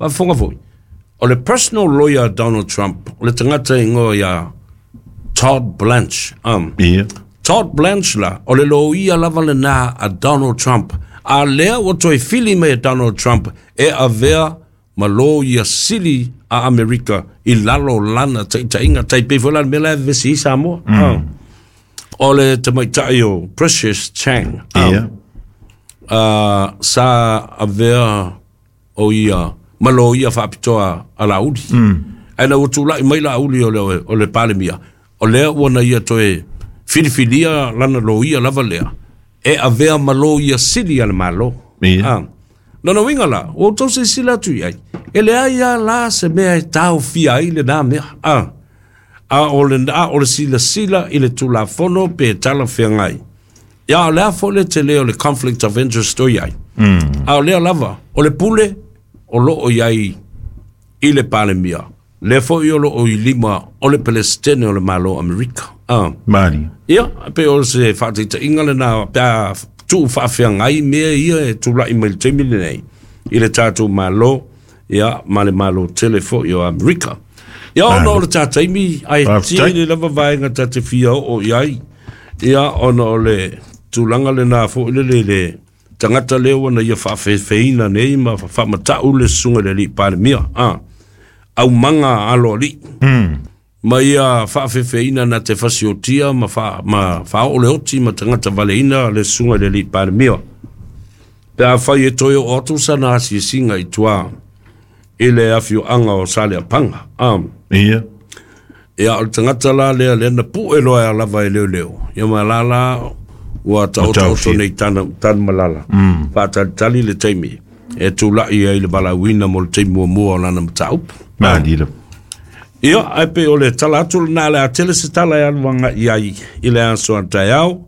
Faafofoga foi, o le personal lawyer a Donald Trump, o le tagata e igoa ia Todd Blanche. Ia. Todd Blanche la, o le loia lava lena a Donald Trump. A lea ua toe fili mai e Donald Trump e avea ma loia sili a Amerika i lalo o lana taitaiga. Tai pei foi la le mea la e vevesi ai Samoa. O le tamaitai o Precious Chang. Ia. Sa avea o ia ma loia faapitoa a Laauli. Ae ina ua tulai mai Laauli o le Palemia, o lea ua na ia toe filifilia lana loia lava lea e avea ma loia sili a le Malo. Ia. Lona uiga la, ua outou silasila atu i ai, e leai lava la se mea e taofia ai lena mea. A o le, a o le silasila i le Tulafono pe talafeagai. Ia, o le a foi le tele o le conflict of interest o i ai. A o lea lava, o le pule o lo o i ai i le Palemia, lea foi o lo o i lima o le Peresetene o le Malo o Amerika. Malie. Ia, pei o se faataitaiga lena pe a tuu faafeagai mea ia e tulai mai i le taimi lenei i le tatou Malo, ia, ma le Malo tele foi o Amerika. Ia, ona o le ta taimi, ae tele lava vaega ta te fia oo i ai, ia, ona o le tulaga lena foi lele i le tagata lea ua na ia faafefeina nei ma faamatau le susuga i le alii Palemia, aumaga aloalii. Ma ia faafefeina na te fasiotia ma, fa, ma faaoo le oti ma tagata valeina le susuga i le alii Palemia. Pe afai e toe oo atu sana asiasiga i tua i le afioaga o Saleapaga. Ia. Ia, o le tagata la lea, lea na pue loa lava e leoleo. Ia ma la la ua taotaoto nei tana, Tanumalala. Faatalitali le taimi e tulai ai le valaauina mo le taimi muamua o lana mataupu. Malie lava. Ia, ae pei o le tala atu lena, o le a tele se tala e alu agai i ai i le aso a taeao.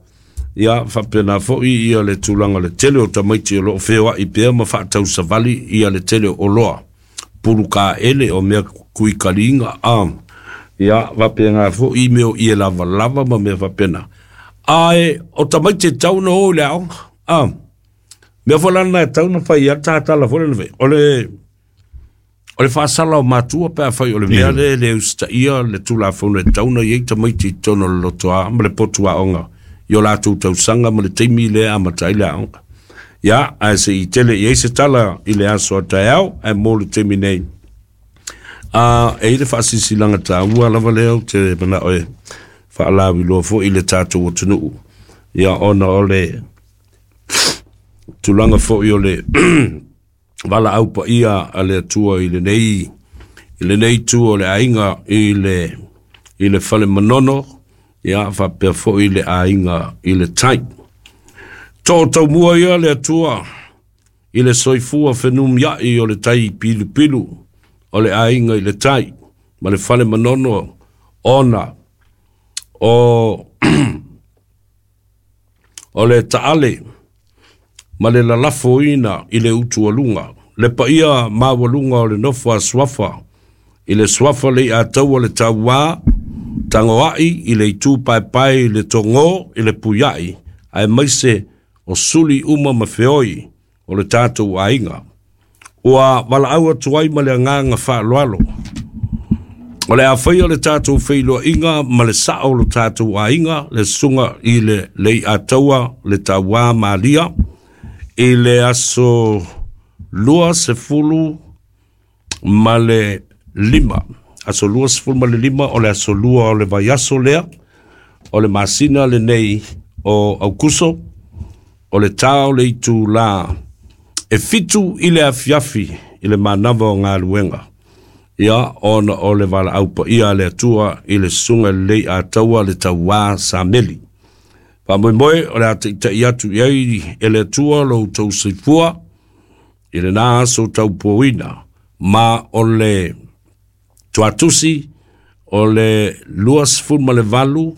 Ia, faapena foi ia le tulaga o le tele o tamaiti o lo o feoai pea ma faatausavali ia le tele o oloa, pulu kaele, o mea kuikaliga, ia, faapena foi mea o ie lavalava ma mea faapena. Ae o tamaiti e tatau ona o i le aoga, mea foi la lena e tatau ona fai ai le tatala foi lena, o le O le faasala o matua pe afai o le mea lea e le usitaia le Tulafono e tatau ona i ai tamaiti i totonu o le lotoa ma le potu aoga i o latou tausaga ma le taimi lea e amata ai le aoga. Ia, ae se i tele i ai se tala i le aso a taeao, ae mo le taimi nei, a, e i ai le faasilasilaga taua lava lea ou te manao e faalauiloa foi i le tatou atunuu, ia, ona o le tulaga foi o le valaau paia a le Atua i lenei i lenei itu o le aiga i le i le fale Manono, ia faapea foi le aiga i le tai. Too taumua ia le Atua i le soifua fenumiai o le tai pilupilu o le aiga i le tai ma le fale Manono ona o o le taale ma le lalafoina i le utualuga, le paia maualuga o le nofo a Suafa, i le Suafa Leiataua le Tauā, Tagoai i le itu paepae i le Togō i le Puiai, aemaise o suli uma ma feoi o le tatou aiga. Ua valaau atu ai ma le agaga faaaloalo. O le a faia le tatou feiloaiga ma le sao o lo tatou aiga, le susuga i le Leiataua le Tauā Malia, i le aso 25, aso 25 o le aso 2 o le vaiaso lea, o le masina lenei o Aukuso, o le ta o le itulā e 7 i le afiafi i le manava o galuega, ia, ona o le valaau paia a le Atua i le Susuga i le Leiataua le Tauā Sameli. Faamoemoe o le a taitai atu i ai e le Atua lo outou soifua i lena aso taupuaina, ma o le tuatusi o le 28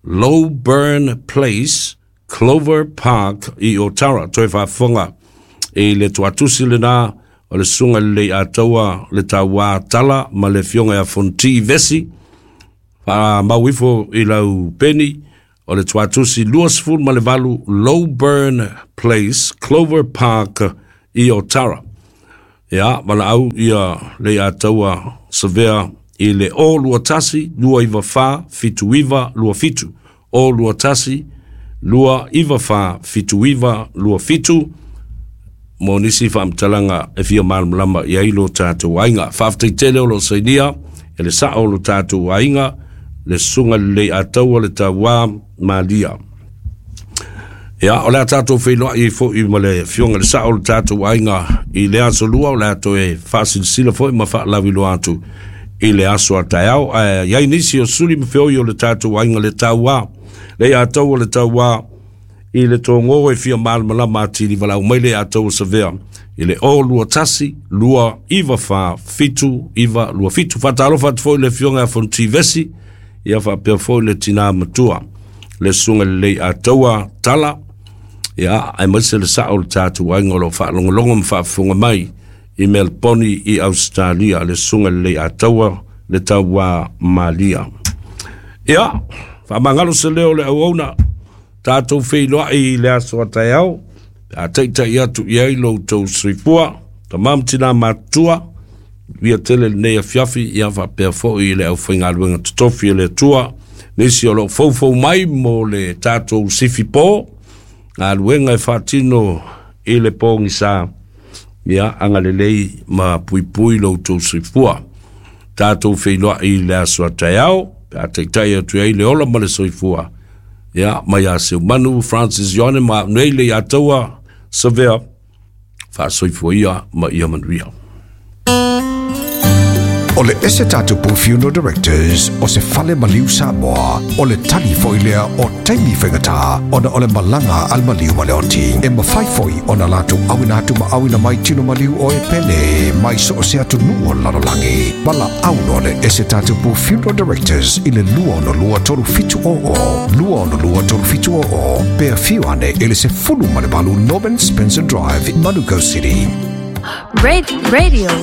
Lowburn Place, Clover Park i Otara. Toe faafofoga i le tuatusi lena o le Susuga i le Leiataua le Tauā Tala ma le Afioga ia Fonoti Vesi. Faamau ifo i lau peni o le tuatusi 28 Lowburn Place, Clover Park i Otara. Ia, valaau ia Leiataua Savea i le 021 294 7927. 021 294 7927 mo nisi faamatalaga e fia malamalama i ai lo tatou aiga. Faafetai tele o lo o sainia e le sao o lo tatou aiga, le Susuga Leiataua le Tauā Malia. Ia, o le a tatou feiloai ai foi ma le Afioga i le Sao o le tatou aiga i le aso Lua, o le a toe faasilasila foi ma faalauiloa atu i le aso a taeao. Ae i ai nisi o suli ma feoi o le tatou aiga le Tauā, Leiataua le Tauā i le Togō e fia malamalama atili, valaau mai Leiataua Savea i le 021 294 7927. Faatalofa atu foi i le Afioga ia Fonoti Vesi, ia faapea foi le tina matua, le Susuga Leiataua Tala, ia aemaise le sao o le tatou aiga o lo o faalogologo ma faafofoga mai i Melbourne i Ausetalia, le Susuga Leiataua le Tauā Malia. Ia, faamagalo se leo o le auauna, tatou feiloai i le aso a taeao, pe a taitai atu i ai lo outou soifua, tama ma tina matutua, manuia tele lenei afiafi, ia faapea foi i le aufaigaluega totofi e le Atua, nisi o lo o foufou mai mo le tatou sifi po, galuega e faatino i le pogisa, ia agalelei ma puipui lo outou soifua. Tatou feiloai i le aso a taeao, pe a taitai atu ai le ola ma le soifua, ia mai a Seumanu, Francis Ioane ma au nei Leiataua Savea, faasoifua ia ma ia manuia. O le ese tatupu Funeral Directors o se fale maliu Samoa, o le tali foi lea o taimi faigata ona o le malaga a le maliu ma le oti. E mafai foi ona latou auina atu ma auina mai tino maliu o e pele mai so o se atunuu o le lalolagi. Valaau loa le ese tatupu Funeral Directors i le 262 3700, 262 3700, pe afio ane i le 18 Norman Spencer Drive, Manukau City. Radio.